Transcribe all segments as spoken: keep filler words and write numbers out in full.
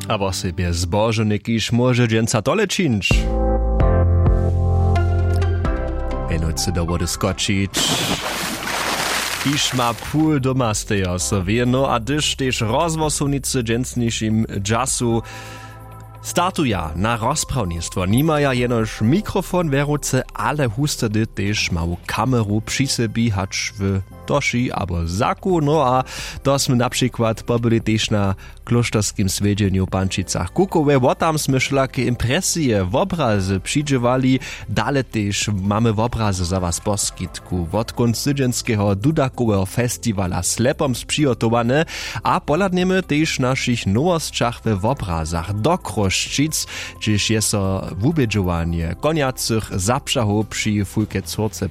A wosebje zbožownik kiž móže dźensa tole čińć, wjenujcy do wody skočić, kiž ma pul doma stejo so wěno a hdyž tež rozhłosownicy w dźensnišim dźasu startuja na rozprawnistwo nimaja jenož mikrofon wěrowce, ale hustedy tež mału kameru při sebi hač w toši abo zaku no a to smy na přikład pobyli tež na klóšterskim swjedźenju w pančicach kukowe wo tam smy wšelake impresije wobrazy přidźěłali. Dale tež mamy wobrazy za was poskitku wotkónc tydźenskeho dudakoweho festiwala slepom přihotowane. A pohladnjemy tež w našich nowosćach we wobrazach do chrósćic, hdźež je so wubědźowanje konjacych zapřahow při fulke córce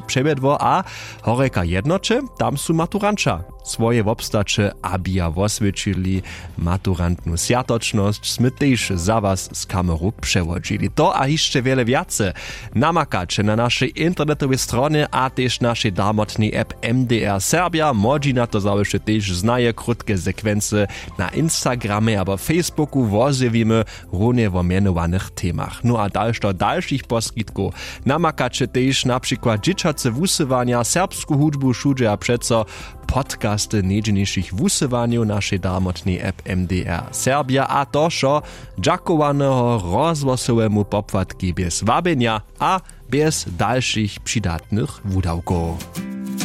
přewjedło a horjeka jednoće tam su maturanća swoje wobstaće abija woswědčili. Maturantnu swjatočnosć smy tež za was z kameru přewodźili to a hišće wjele wjace namakaće na našej internetowej stronje a tež našej darmotnej app mdr serbja młodźina to zawěsće tež znaje krótke sekwency na instagramje abo facebooku wozjewimy runje wo mjenowanych temach no a dalšto dalšich poskitkow. Namakaće tež na přikład dźěćace wusyłanja serbsku hudźbu wšudźe a přeco podcasty nejdźelnišich wusyłanjow našej darmotnej app mdr serbja a to wšo dźakowaneho rozhłosowemu popłatkej bjez wabjenja a bjez dalšich přidatnych wudawkow.